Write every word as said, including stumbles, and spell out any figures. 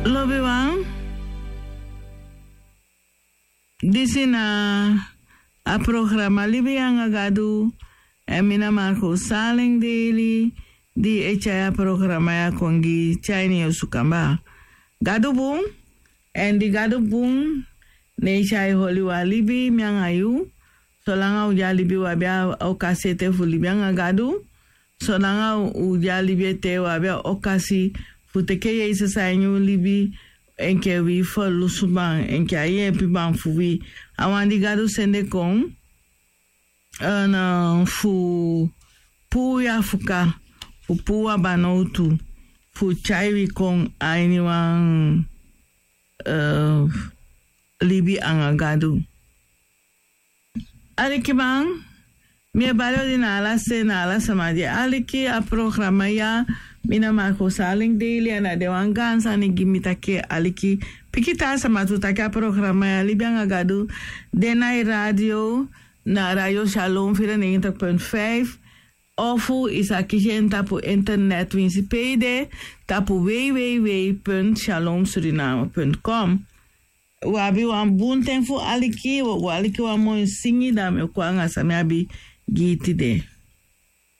Lobiwan, disi na a programa Libi anga Gadu. Èn mi na Marco Saleng Daily, di e tyai a programa ya kon gi tyai ini yu osu kaba. Gadu bun, èn di Gadu bun, ne e tyai holi wan libi, mi anga yu. Solanga u de a libi, u abi a okasi ete fu libi anga Gadu. Solanga u de a libi ete, u abi a okasi fu teke Yesus a ini u libi, enke wi ferlusuman, enke a yeepiman fu wi. A wan di Gadu sende kon, èn, eh, fu puu wi a fuka, fu puu wi a banowtu, fu tyai wi kon a ini wan, eh, libi anga Gadu. Alikiman, mi e bari odi na ala se, na ala sama di e aliki a programa ya. Mi na Marco Saleng Daily, èn a de wan gaan sani gi mi taki aliki pikin taa sama tu taki a programa ya Libi anga Gadu de na yu radio, na Radio Shalom vierennegentig punt vijf, ofu i sa kisi en tapu internet winsi pe i de, tapu www punt shalom suriname punt com. U abi wan bun ten fu aliki, u o go aliki wan moi singi, dan mi o kon anga san mi abi gi yu tide.